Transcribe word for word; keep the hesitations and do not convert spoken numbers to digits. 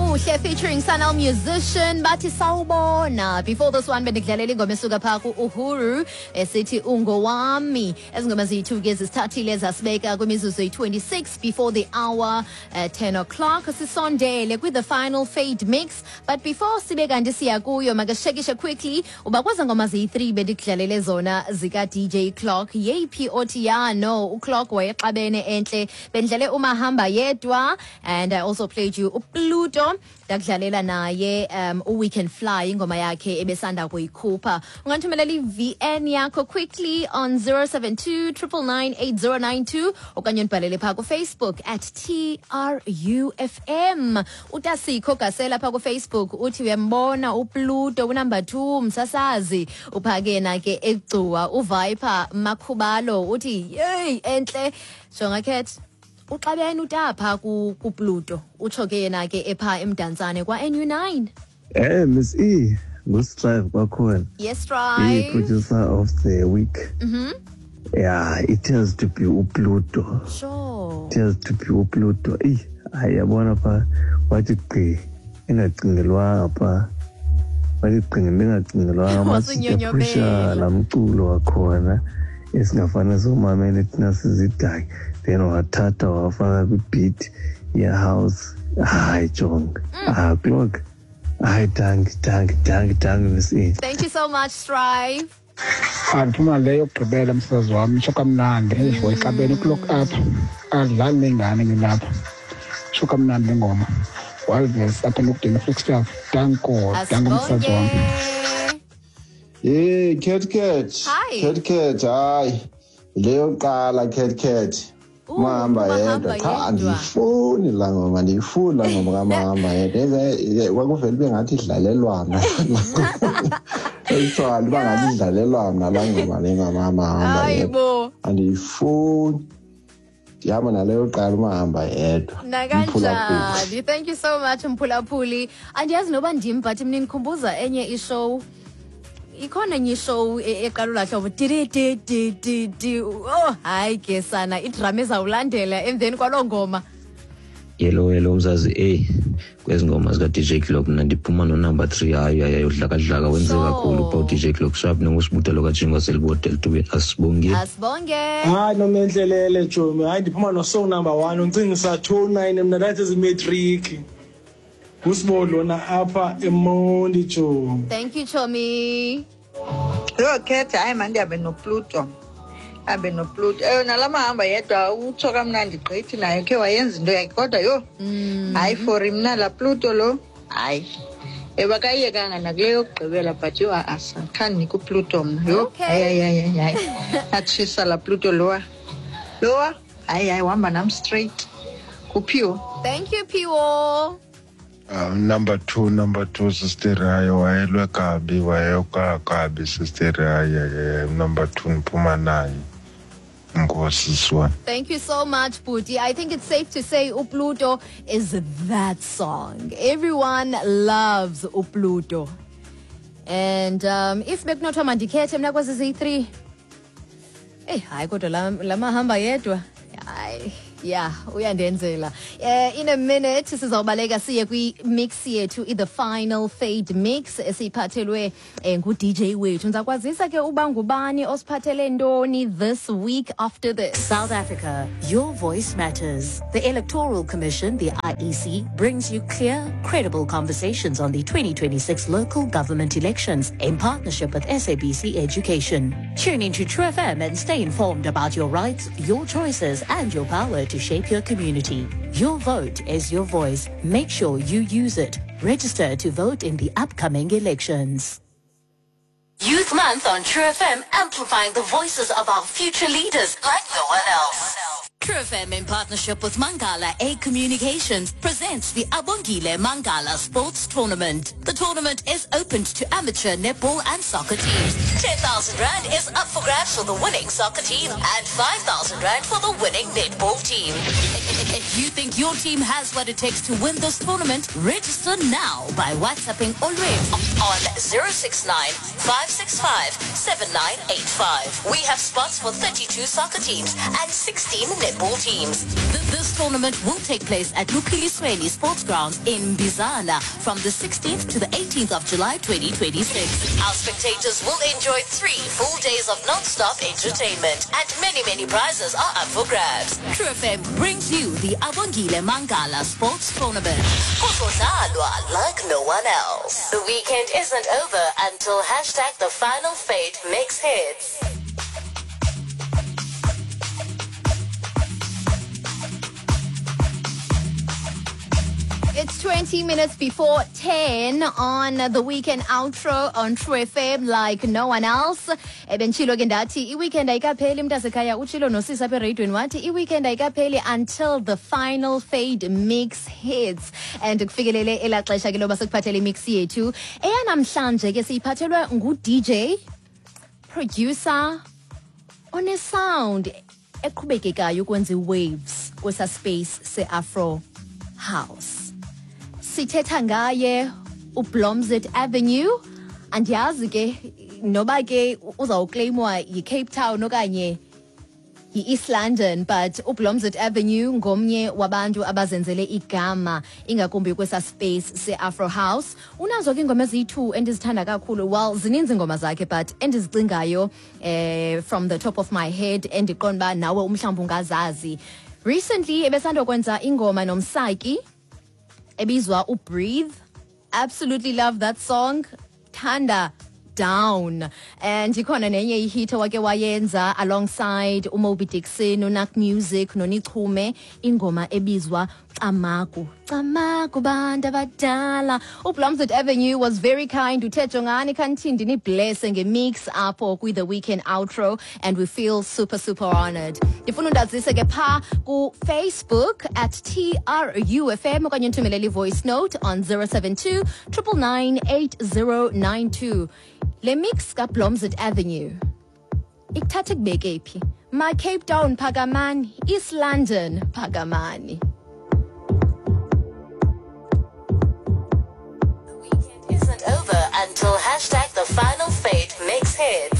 Ubuhle featuring Sun-El Musician bathi sawubona. Before this one bendikudlalela ingoma esuka phaa ku-Uhuru esithi ungowami. Ezi ngoma ziyi-two ke zisithathile zasibeka kwimizuzu eyi-twenty-six before the hour, uh, ten o'clock. Sisondele kwi-the final fade mix, but before sibe kanti siya kuyo, makasishekishe quickly uba kweza ngoma ziyi-three bendikudlalele zona zika-D J Clock, yeyiphi othi ya no uClock wayexabene entle. Bendidlale umahamba yedwa and I also played you uPluto, ndakudlalela naye um uWe Can Fly, ingoma yakhe ebesanda kuyikhupha. Ungandithumelela i-V N yakho quickly on zero seven two nine nine nine eight zero nine two okanye undibhalele phaa kuFacebook at T R U F M. Utasikho Gasela phaa kuFacebook uthi uyambona uPluto unumber two, msasazi uphake yena ke eGcuwa. UViper Makhubalo uthi yeyi entle, jonga cat uxabene utapha ku- kuPluto, utsho ke yena ke epha eMdantsane kwa-N U nine. Eh Miss E, nguStrive kwakhona. Yes, Strive. I-producer of the week. mhm Yeah, it has to be uPluto. Sure it has to be uPluto. Eyi, hayi, yabona pha wathi gqi engacingelwanga pha, wathi gqi engacingelwanga. Wasunyonyobela. Laa mculo wakhona esingafane somamele thina sizidaki, then wathatha wafaka kwibeat ye-house. Hayi jonga, ah, Clock, hayi, danki, danki, danki, danki, Miss E. Thank you so much, Strive. Andiphuma le yokugqibela, msazi wam, itsho kamnandi. Eyi, wayixabene uClock apha, adlali nengane ngilapha, tsho kamnandi le ngoma. Walves apha enokudini, Flagstaff. Danko, danko, msazi wam. Asibonge. Hey, Cat Cat. Hi. Cat Cat, hayi. Leyo qala, Cat Cat. Ooh, Mahamba Mahamba yedwa. Cha, Yedwa. andiyifuni laa ngoma, andiyifuni laa ngoma kaMahamba yedwa. Eze kwakuvele ube ngathi idlalelwa mna. Ekuthiwa uba ngathi idlalelwa mna laa ngoma le kaMahamba yedwa. Hayibo. Andiyifuni. Ndihamba naleyo yokuqala, uMahamba yedwa. Mphulaphuli. Nakanjani. Thank you so much, mphulaphuli. Andiyazi noba ndim, but mna ndikhumbuza enye ishow. Ikhona enye ishow e- eqala olaa hlobo, di di di di di. Oh hayi ke sana, idrama ezawulandela emveni kwaloo ngoma. Yelo, yelo, mzazi. Eyi, kwezi ngoma zika-D J Clock mna ndiphuma nonumber three. Hayi, hayi, udlakadlaka wenze Sure. kakhulu pha u-D J Clock. Sharp nongusibutelo kajingwa selibodel tube. Asibongile. Asibonge. Hayi, Nomenhlelele, tshomi, hayi, ndiphuma no-song number one, uncingisa two nine. Mna ndathi ezimatriki ngusibo lona apha eMonti, tshomi. Thank you, chomi. Yho khetha, hayi mandihambe noPluto, hambe noPluto. Ewe, nala Mahamba yedwa utsho kamnandi gqithi, naye khe wayenza into yakhe, kodwa yho, hayi, for mna laa Pluto lo, hayi, ewe, akayiyekanga nakule yokugqibela, but yho, a-a, khandinika uPluto mna, yho. Okay. Hayi, hayi, hayi, hayi, atshisa laa Pluto lowa lowa, hayi, hayi, uhamba nam straight kuphiwo. Thank you, Phiwo. Um, number two, number two, sister. Hayi, wayelwe kabi, wayeyoka kabi, sister. Hayi, hayi, number two ndiphuma naye. Enkosi, siswana. Thank you so much, Buti. I think it's safe to say uPluto is that song. Everyone loves uPluto. And um, if bekunothiwa mandikhethe mna kwezi ziyi-three, eyi hayi, kodwa la la Mahamba yedwa, hayi, yeah, uyandenzela. uh, in a minute sizawubaleka siye kwi-mix yethu, i-the final fade mix esiyiphathelwe eh, ngu-D J wethu. Ndizakwazisa ke uba ngubani osiphathele ntoni this week after this. South Africa, your voice matters. The Electoral Commission, the I E C, brings you clear, credible conversations on the twenty twenty-six local government elections in partnership with S A B C Education. Tune into True F M and stay informed about your rights, your choices, and your power to shape your community. Your vote is your voice. Make sure you use it. Register to vote in the upcoming elections. Youth Month on True F M, amplifying the voices of our future leaders like no one else. True F M, in partnership with Mangala A Communications, presents the Abongile Mangala Sports Tournament. The tournament is open to amateur netball and soccer teams. ten thousand Rand is up for grabs for the winning soccer team and five thousand Rand for the winning netball team. If you think your team has what it takes to win this tournament, register now by WhatsApping Olwethu on zero six nine, five six five, seven nine eight five. We have spots for thirty-two soccer teams and sixteen netball teams. This tournament will take place at Luphilisweni Sports Grounds in Bizana from the sixteenth to the eighteenth of July twenty twenty-six. Our spectators will enjoy three full days of non-stop entertainment, and many, many prizes are up for grabs. True F M brings you the Abongile Mangala Sports Tournament. Kuzodlalwa like no one else. The weekend isn't over until hashtag the final fade makes hits. It's twenty minutes before ten on the weekend outro on True F M like no one else. Ebentshilo ke ndathi i-weekend ayikapheli mntasekhaya, utshilo nosisi apha ereyidweni wathi i-weekend ayikapheli until the final fade mix hits. And kufikelele elaa xesha ke loba sikuphathele imix yethu. Eyanamhlanje ke siyiphathelwe ngu-D J, producer, one-sound eqhubekekayo ukwenza i-waves kwesa space se-Afro House. Sithetha ngaye uBlomzet Avenue. Andiyazi ke noba ke uzawuclaimwa yi-Cape Town okanye yi-East London, but uBlomzet Avenue ngomnye wabantu abazenzele igama ingakumbi kwesa space se-Afro House. Unazo ke ingoma eziyi-two endizithanda kakhulu. Well, zininzi ingoma zakhe, but endizicingayo eh, from the top of my head endiqonda uba nawe umhlawumbi ungazazi. Recently ebesandokwenza ingoma noMsaki ebizwa uBreathe. Absolutely love that song. Thanda down. And ikhona nenye ihit wake wayenza alongside uMoby Dixon, uNak Music, noNichume, ingoma ebizwa Camagu. Camagu bantu abadala. uBlomzet Avenue was very kind. Uthe jongani kanti ndiniblesse ngemix apho kwi the weekend outro, and we feel super super honored. Ndifuna undazise ke pha ku Facebook at T R U F M okanye nthumelele voice note on zero seven two, triple nine, eight zero nine two. Le mix kaBlomzet Avenue ikuthathe kubeke phi? Ma Cape Town phakamani, East London phakamani. Over until hashtag the final fade makes hits.